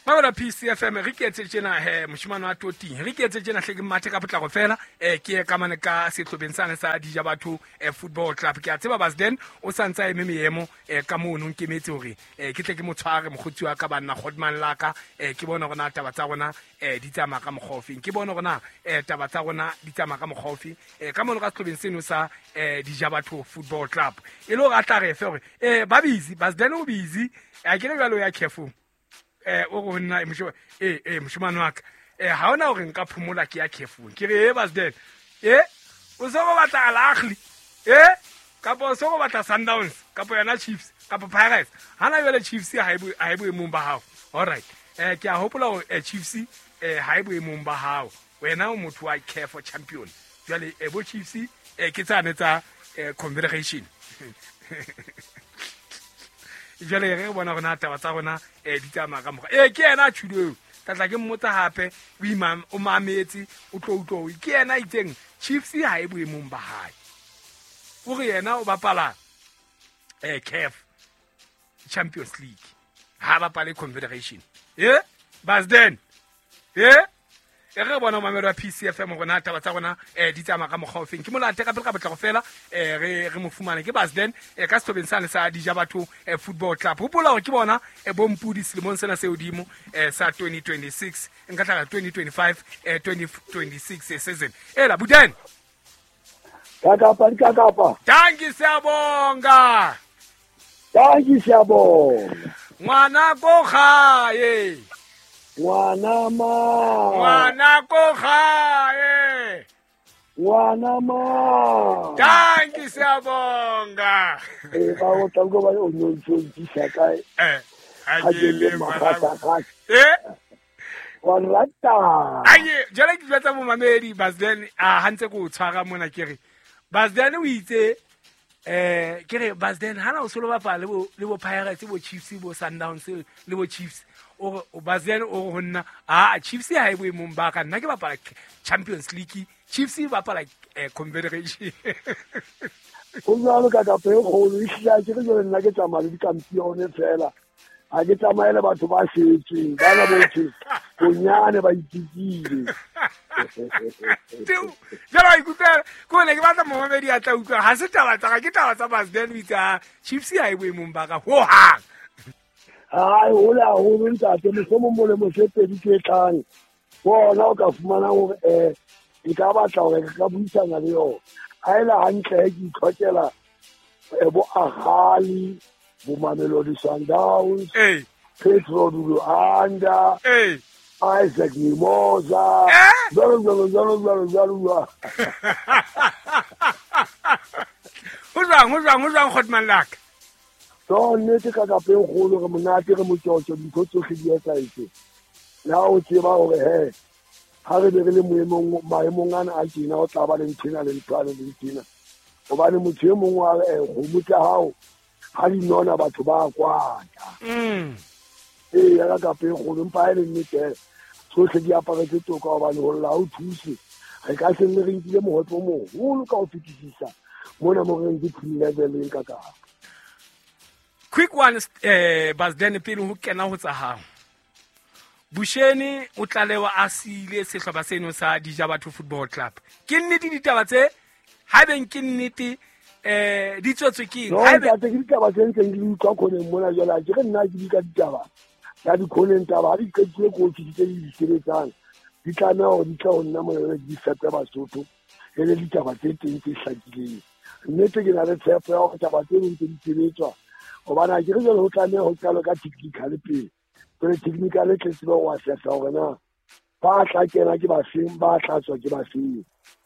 Mabela PCFM re ke etse tjena he moshimane wa toting re ke etse tjena hle ke mathe ka potlako fela ke ye ka mane ka sehlobeng sane sa Dija Batho Football Club. Ke a tseba Basden o sa ntse a eme meemo ka mono nkemetse hore ke tle ke mo tshware mokgotsi wa ka banna Godman la ka ke bone hore na taba tsa rona di tsamaya ka mokgwa ofeng, ke bone hore na taba tsa rona di tsamaya ka mokgwa ofeng ka mono ka sehlobeng seno sa Dija Batho Football Club, e le hore a tla re fe hore ba busy, Basden o busy a ke le jwalo ya careful o go nna moshimane wa ka ha ona hore nka phomola ke ya careful ke re Basden o se go batla Al Ahly kapa o se go batla Sundowns kapa yona Chiefs kapa Pirates. Hana jwale Chiefs ha e boemong ba hao. All right, ke a hopola hore Chiefs ha e boemong ba hao, wena o motho wa care for champion. Jwale bo Chiefs ke tsane tsa Confederation. Jwale re bona rona taba tsa rona di tsamaya ka mokgwa ke yena a tjhulo eo ka tla ke mmotsa hape o mametse o tlo utlwa ke yena a itseng Chiefs ha e boemong ba hae, o re yena o bapala CAF Champions League ha bapale Confederation. Basden e re bona mamelo wa PCFM rona taba tsa rona di tsamaya ka mokgwa ofeng. Ke molate ka pele ka potlako fela re mo fumane ke Basden ka sehlobeng sane sa Dija Batho Football Club. Hopola hore ke bona bompudi selemong sena se hodimo sa 2026 nka tla 2025 2026 season. Ela Buden Kakapa kakapa. Tanki siyabonga. Tanki siyabonga. Ngwana ko gae. Ngwana ma. Ngwana ko gae. Ngwana ma. Tanki siyabonga. Ba o tla go ba o no ntshisa kae? A ke le magata. Wa rata. Aye, jwale ke jwetsa momamedi Basden a hantse go tshwara mona ke re Basden o itse ke re Basden hana o solo bapala le bo Pirates bo Chiefs bo Sundowns le bo Chiefs o Basden o ho nna a Chiefs ha e boemong ba ka nna ke bapala Champions League, Chiefs e bapala Confederation. O jwalo ka ka pe kgolo e hlile ke re jwale nna ke tsamaya le dikampione fela, ha ke tsamaye le batho ba setsweng bana botlhe bonyane ba itikile. Jalo a ikutlwela ke ne ke batla momamedi a tla utlwa ha se taba tsa ka ke taba tsa Basden o itse a Chiefs ha e boemong ba ka hohang. Ai hole haholo ntate, mohlomong molemo se pedi tse tlang bona o ka fumana hore e ka batla hore re ka buisana le yona. Ha e le hantle ke itlhokela bo Ahali, bo Mamelodi Sundowns, Petro Luanda, Isaac Mimosa, jalo jalo jalo jalo jalo. Ho jwang Godman laka? So nnete ka kapeng kgolo re monate re motjotjo dintho tsohle di etsahetse. Le ha o tseba hore he ha re be re le maemong ana a tjena o tla ba le nthena le nthwana le nthena. Hobane motho e mong wa re kgomo tsa hao ha di nona batho ba kwata. Ya ka kapeng kgolo empa ha e le nnete tsohle di aparetse toka hobane ho lla ha o thuse. Re ka se nne re nkile mohope o moholo ka ho fetisisa mona mo re nke team leveleng ka kapa. Quick one Basden pele ho kena ho tsa hao. Busheni o tlalewa a siile sehlopha seno sa Dija Batho Football Club. Ke nnete ditaba tse ha beng ke nnete di tswetswe ke eng? Ha ebe ke ditaba tse ntseng di utlwa khoneng mona jwale ke re nna ke di ka ditaba ya dikhoneng taba ha di qetile ko tse di sebetsang di tlameha hore di tla ho nna mona di fepe Basotho e le ditaba tse teng tse hlakileng. Nnete ke na le tshepo ya hore taba tse ntse di sebetswa hobane ha ke re jwale ho tlameha ho qalwe ka technical pele. Jwale technical e tle tsebe ho assessa hore na ba tla kena ke bafeng, ba tla tswa ke bafeng.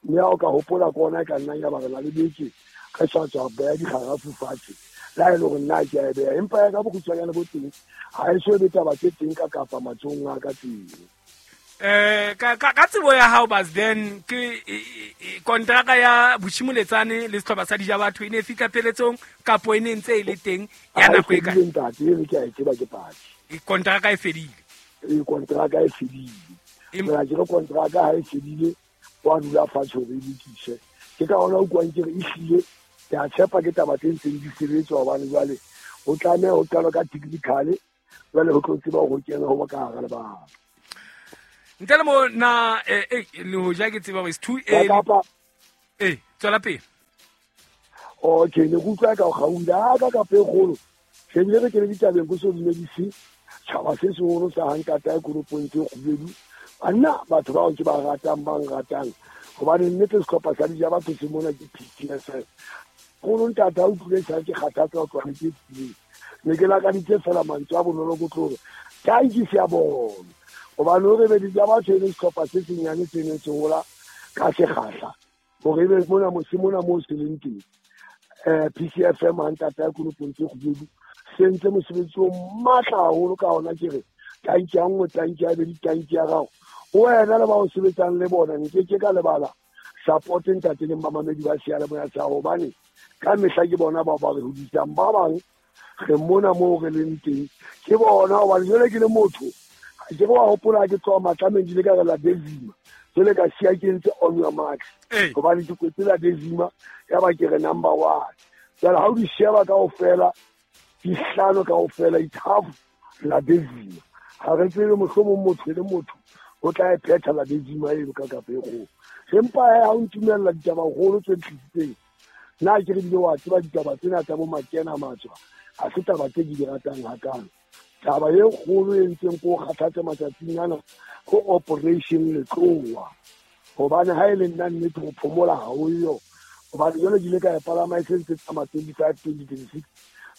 Mme ha o ka hopola ke ona e ka nnang ya ba re na le beke re sa tswa beha dikgarafu fatshe le ha e le hore nna ke a e beha, empa ya ka bokgutshwanyane bo teng ha e so be taba tse teng ka kapa matsohong a ka teng. Ka tsebo ya hao Basden ke kontraka ya Boshimoletsane le sehlopha sa Dija Batho e ne e fihla pheletsong kapo e ne ntse e le teng ya nako e kae? Ntate e re ke a e tseba ke paki. Kontraka e fedile. Kontraka e fedile. Empa ke re kontraka ha e fedile wa dula fatshe hore e lokiswe. Ke ka hona o utlwang ke re ehlile ke a tshepa ke taba tse ntseng di sebetswa hobane jwale ho tlameha ho qalwa ka technical. Jwale ho tlo tseba ho kena ho ba ka hara lebala. Ntle le mo na le hoja ke tseba hore it's too early. Tswela pele. Okay, ne ke utlwa ka o kgaula ka kapa e kgolo. Shebile re kene ditabeng ko so dumedise tjhaba se seholo sa hantata ya koropong tse kgubedu. Banna batho bao ke ba ratang ba nratang. Hobane nnete sehlopha sa dija batho se mona ke PTSS. Kgolo ntata o utlwile sa ke kgathatsa ho tloha ke tseleng. Ne ke lakaditse fela mantswe a bonolo ko tlo hore tanki se a bona. Hobane hore be dija batho e le sehlopha se senyane se neng se hola ka sekgahla. Hore ebe mona mose mona moo se leng teng. PCFM ha ntata ya koropong tse kgubedu se ntse mosebetsi o matla haholo ka ona ke re tanki ya nngwe tanki ya bedi tanki ya gago wena le ba o sebetsang le bona nke ke ka lebala support ntate le mamamedi ba seyalemoya sa hobane ka mehla ke bona bao ba re hodisang ba bang re mona moo re leng teng ke bona hobane jwale ke le motho ke re wa hopola ke tloha matlameng ke ile ka re la Dezima jwale ka siya ke ntse on your marks hobane ke kwetse la Dezima ya ba ke re number one. Jwale ha o di sheba kaofela di hlano kaofela it's half la Dezima. Ha re tsebe mohlomong motho le motho o tla e phetha la Dezima eno ka kapa e kgolo. Empa ha o ntumella ditaba kgolo tse tlisitseng nna ke re bile wa tseba ditaba tsena tsa bo makena matswa ha se taba tse ke di ratang hakalo. Taba e kgolo e ntseng ko kgathatse matsatsing ana ko operation Letloa. Hobane ha e le nna nnete ho phomola ha o yo. Hobane jwale ke ile ka e palama e se ntse tsamaya 25 2026.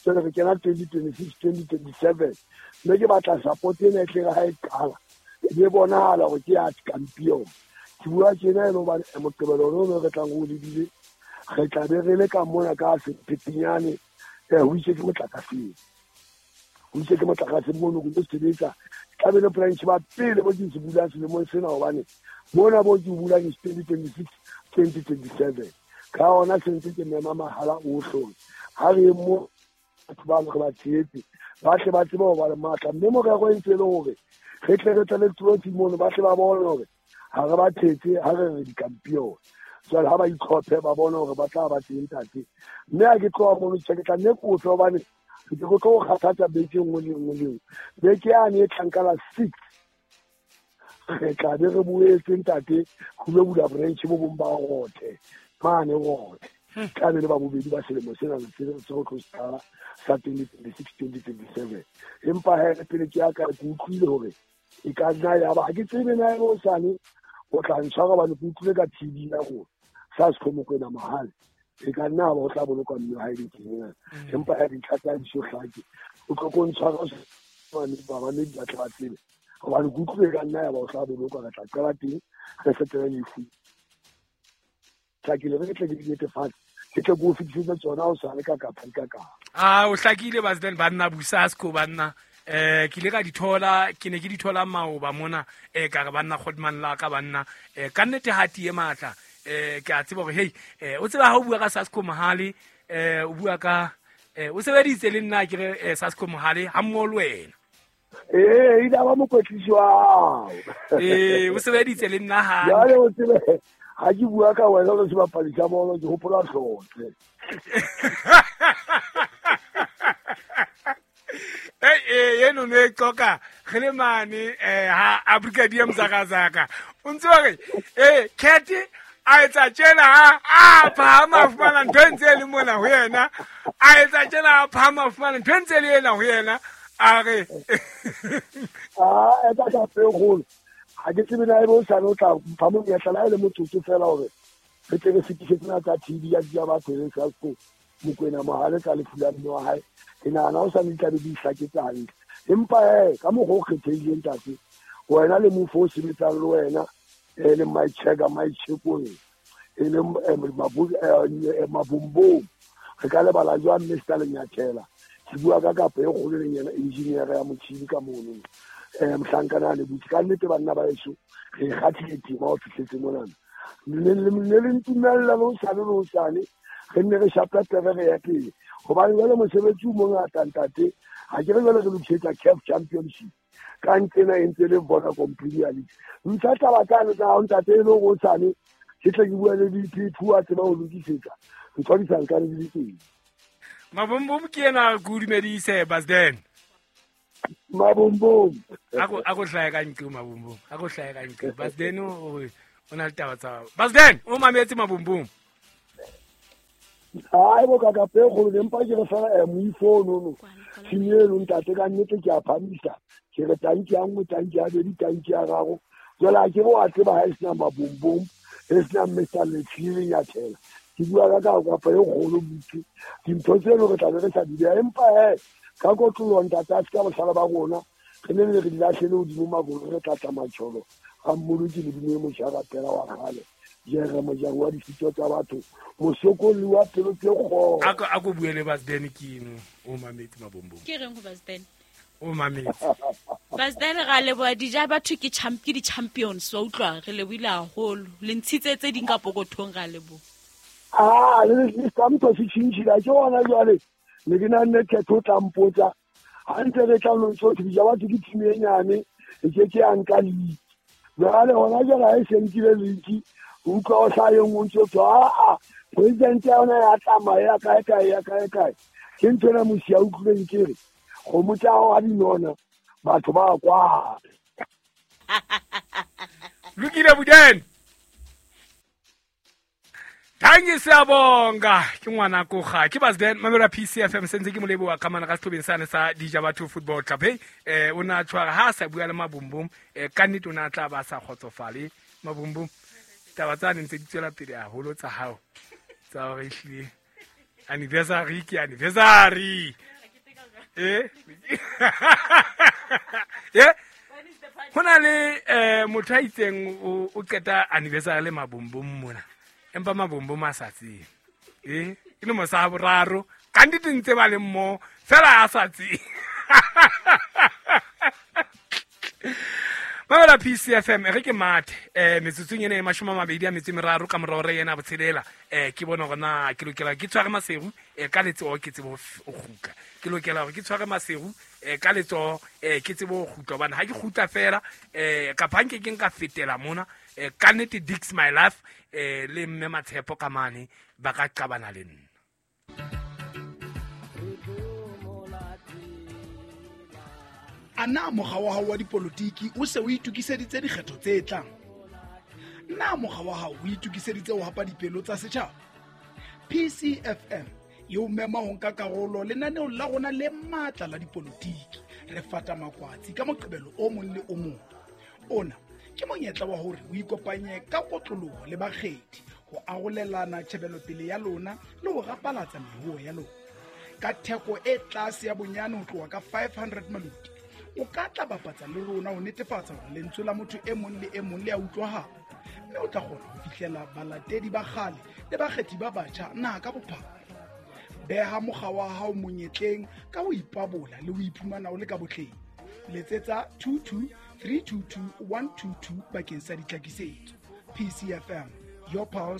Jwale re kena 2026 2027. Mme ke batla support ena e tle re ha e qala. E be bonahala hore ke ya champion. Ke bua tjena e le hobane Moqebelo ono re tlang ho lebile re tla be re le ka mona ka Sephetinyane ho itse ke motlakaseng. Ho itse ke motlakase mono go sebetsa. Tla be le branch ba pele bo ke se bulang selemong sena hobane mona bo ke bulang 2026 2027. Ka ona se ntse ke mema mahala ohle. Ha re mo batho ba re ba tshehetse ba tle ba tsebe ho ba le matla mme morero e ntse e le hore re tle re tle le trophy mono ba tle ba bone hore ha re ba thetse ha re re di-champion. Jwale ha ba itlhophe ba bone hore ba tla ba teng ntate. Mme ha ke tloha mono tjhe ke tla nne ke utlwe hobane ke tlo tlo kgathatsa beke nngwe le nngwe le nngwe. Beke yane e tlang ka la 6 re tla be re boetse ntate ho lo bula branch bo bong ba Rothe mane Rothe. Tla be le ba bobedi ba selemo sena se se tlo qala sa 2026 2027. Empa he pele ke ya ka ke utlwile hore e ka nna ya ba ha ke tsebe na e hosane o tla ntshwara hobane ke utlwile ka TV ya rona sa Sekgomokwena Mohale e ka nna ba o tla bolokwa mme ha e le teng. Empa ha dintlha tsa di so hlake o tlo ko ntshwara mane ba ba ne ba tla ba tsebe hobane ke utlwile ka nna ya ba o tla bolokwa re tla qala teng re fetele lefu. Hlakile re tle ke di netefatse ke tle ke o fetisetsa tsona o sale ka kapa ka ka. O hlakile President banna Busasco banna ke ile ka di thola ke ne ke di thola maoba mona ka re banna Godman la ka banna ka nnete ha tie matla ke a tseba hore hey o tseba ha o bua ka Sasco Mohale o bua ka o sebeditse le nna ke re Sasco Mohale ha mmoho le wena. Ile ba mokwetlisi wa hao. O sebeditse le nna ha. Jwale o tsebe ha ke bua ka wena o sebapadi sa bolo ke hopola hlotse. Eno ne qoka re le mane ha Africa DM Zakazaka. O ntse wa re Cat a etsa tjena ha a phahama fumana ntho e ntse e le mona ho yena. A etsa tjena a phahama fumana ntho e ntse e le ena ho yena. A re etsa ka pele ha ke tsebe na ebe o sane o tla mpha monyetla la e le motsotso fela hore re tle re fetisetse tsena tsa TV ya dia batho le Sasco Mokwena Mohale ka lefu la mme wa hae. Ke nahana o sane di tla be di hlaketse hantle. Empa ka mokgwa o kgethehileng ntate wena le mofo o sebetsang le wena e leng Maicheka Maichekong e leng Mabumbong re ka lebala jwang Mr Lenyathela. Ke bua ka kapa e kgolo leng yena engineer ya motjhini ka mono mohlankana le butse ka nnete banna ba heso re kgathile tema ho fihletse monana. Ne le ntumella le hosane le hosane re nne re shapa pere re ya pele hobane jwale mosebetsi o mongata ntate. Ha ke re jwale re lokisetsa CAF Championship ka ntsena e ntse le Vodacom Premier League. Ntsha taba tsane tsa hao ntate e le hore hosane ke tle ke bua le DP2 a tseba ho lokisetsa ntho di sa nkane di le teng. Mabumbum ke ena ke o dumedise Basden. Mabombom. A ko hlahe ka nqe Mabombom. A ko hlahe ka nqe. Basden o na le taba tsa. Basden o mametse Mabombom. Ai bo ka ka pe go le mpa ke re fela moifo no no. Tshimelo ntate ka nnete ke a phamisa. Ke re tanki ya nngwe, tanki ya bedi, tanki ya gago. Jwale a ke re wa tseba ha e sena Mabombom, e sena Mr. Letsile ya thela. Ke bua ka kapa e kgolo butse. Dintho tseno re tla be re sa di beha, empa he ka kotloloho ntate a se ka bohlale ba rona re ne re di lahlele hodimo makolo re tlatla matjholo ga mmoloki Modimo e motjha ratela wa kgale jere mojaro wa ditshito tsa batho mosokolli wa pelo tse kgolo. A ko bue le Basden ke eno o mametse Mabombom. Ke reng ho Basden? O mametse. Basden ra leboha dija batho ke champ ke di-champions wa utlwa re lebohile haholo le ntshitse tse ding ka pokothong ra leboha. Ah le samtho se tshintshila ke hona jwale ne ke na nne kgetho o tla mpotsa ha ntse re tla lo ntso dija batho ke team e nyane e ke ke ya nka league. Jwale hona jwale ha e se nkile league o utlwa o hlaha e nngwe ntso tswa a president ya yona ya tsamaya ya kae kae ya kae kae. Ke ntho ena mosi ya utlwileng ke re kgomo tsa hao ha di nona batho ba kwa. Lokile Buden. Thank siyabonga ke ngwana ko ga ke Basden mamela PCFM sentse ke molebo wa kamana ka setlhobeng sane sa Dija Batho Football Club. Hey o na tshwara ha sa bua le Mabombom ka nnete o na tla ba sa kgotsofale Mabombom. Taba tsa ne ntse di tswela pele haholo tsa hao tsa hore ehlile anniversary ke anniversary. Ho na le motho a itseng o qeta anniversary le Mabombom mona. Empa Mabombom a sa tsebe. Ke le mosa boraro ka nnete ntse ba le mmo fela a sa tsebe. Mamela PCFM re ke mathe metsotsong ena e 23 ka morao re yena botshelela ke bona hore na ke lokela ke tshware Maseru ka letsoho ke tsebe ho kgutla. Ke lokela hore ke tshware Maseru ka letsoho ke tsebe ho kgutla hobane ha ke kgutla fela kapa nke ke nka fetela mona ka nnete Dix My Life le mme Matshepo ka mane ba ka qabana le nna. Ana mokga wa hao wa dipolotiki o se o itokiseditse dikgetho tse tlang? Na mokga wa hao o itokiseditse ho hapa dipelo tsa setjhaba? PCFM e o mema ho nka karolo lenaneong la rona le matla la dipolotiki. Re fata makwatsi ka Moqebelo o mong le o mong. Ona ke monyetla wa hore o ikopanye ka kotloloho le bakgethi ho arolelana tjhebelopele ya lona le ho rapalatsa meruo ya lona. Ka theko e tlase ya bonyane ho tloha ka 500 maloti, o ka tla bapatsa le rona ho netefatsa hore lentswe la motho e mong le e mong le a utlwahala, mme o tla kgona ho fihlela balatedi ba kgale le bakgethi ba batjha naha ka bophara. Beha mokga wa hao monyetleng ka ho ipabola le ho iphumana o le ka botleng. Letsetsa 22 322 122 bakeng sa ditlhakisetso. PCFM, your pulse.